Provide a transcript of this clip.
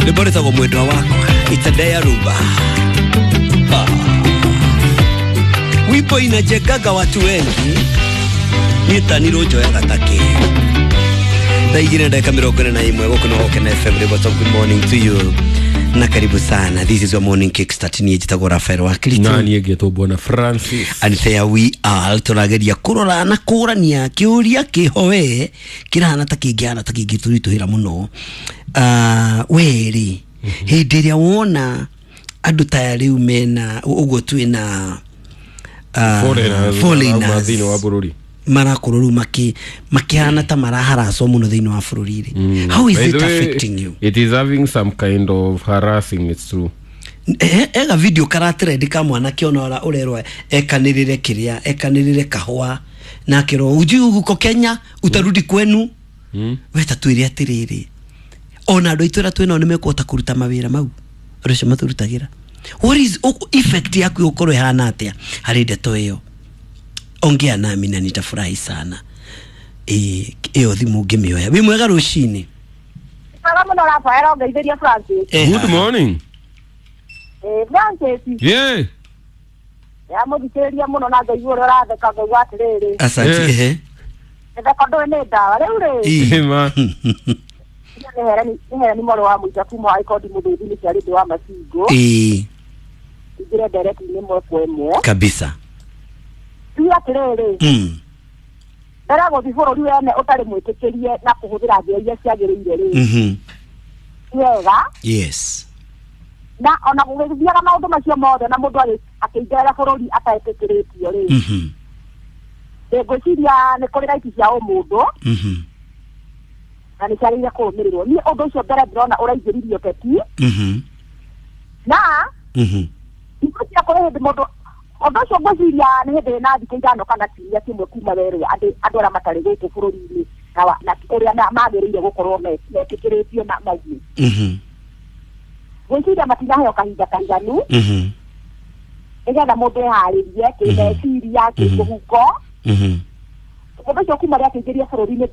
Rwĩmbo rwĩtagwo Mwendwa Wakwa, itadea rumba. Ah. Wimbo inajengaga watu wengi, nitanirwo njoyaga takĩ. Thaa 2:41, gũkũ nĩ Gũkena FM. Rĩgwo good morning to you na karibu sana. This is your morning kickstart. Niĩ njĩtagwo Rafael wa Kristo. Na niĩ ngĩtwo Bwana Francis. And there we are, tũrageria kũrora na kũrania kĩũria kĩho we kĩrahana ta kĩngĩhana ta kĩngĩtũritũhĩra mũno. We rĩ, hĩndĩ ĩrĩa wona andũ ta rĩu mena ũguo twĩna foreigners foreigners thĩinĩ wa bũrũri marakorwo rĩu makĩhana ta maraharacwo mũno thĩinĩ wa bũrũri rĩ, how is By it the way, affecting you? It is having some kind of harassing, it's true. Ega video karatrend ka mwanake ona ũrĩa ũrerwo ekanĩrĩre kĩrĩa ekanĩrĩre kahũa na akĩrwo, "Ujui uko Kenya utarudi kwenu." We ta twĩre atĩrĩrĩ, ona andũ aitũ arĩa twĩnao nĩ mekũhota kũruta mawĩra mau andũ acio matũrutagĩra? What is effect yaku ĩgũkorwo ĩhana atĩa harĩ ndeto ĩyo? Ongea nami na nitafurahi sana. Ĩyo thimũ ngĩmĩoya. Wĩ mwega rũcinĩ. Mwega mũno Rafael, ongeithĩria Francis. Good morning. Francis. Yeah. Yamũthikĩrĩria mũno na ngaigua ũrĩa ũratheka, ngaigua atĩrĩrĩ, Asante. Mĩtheko ndũĩ nĩ ndawa rĩu rĩ. Ma. Nĩ hereni mwarĩ wa mũita kuma wa ikondi mũthũthi nĩ ciarĩ wa macingo. Ingĩre ndereti-inĩ ĩmwe kwa ĩmwe. Kabisa. Tuge atĩrĩrĩ, mbere ya gũthiĩ bũrũri wene ũtarĩ mwĩtĩkĩrie na kũhũthĩra njĩra iria ciagĩrĩire rĩ, ti wega. Na ona gũgĩthiaga maũndũ macio mothe na mũndũ akĩingĩra bũrũri atetĩkĩrĩtio rĩ, ngwĩciria nĩ kũrĩ right cia ũmũndũ na nĩ ciagĩrĩire kũrũmĩrĩrwo. Niĩ ũndũ ũcio mbere ndĩrona ũraingĩririe ũteti na ngwĩciria kũrĩ hĩndĩ mũndũ ũndũ ũcio, ngwĩciria nĩ hĩndĩ na thikũ 5 kana kiumia kĩmwe kuma werwo andũ arĩa matarĩ gũkũ bũrũri-inĩ na ũrĩa magĩrĩire gũkorwo metĩkĩrĩtio na maume, ngwĩciria matinaheo kahinda kaiganu nĩgetha mũndũ eharĩrie kĩmeciria, kĩmũhuko. Ũndũ ũcio kuma rĩa kĩingĩria bũrũri-inĩ mbere.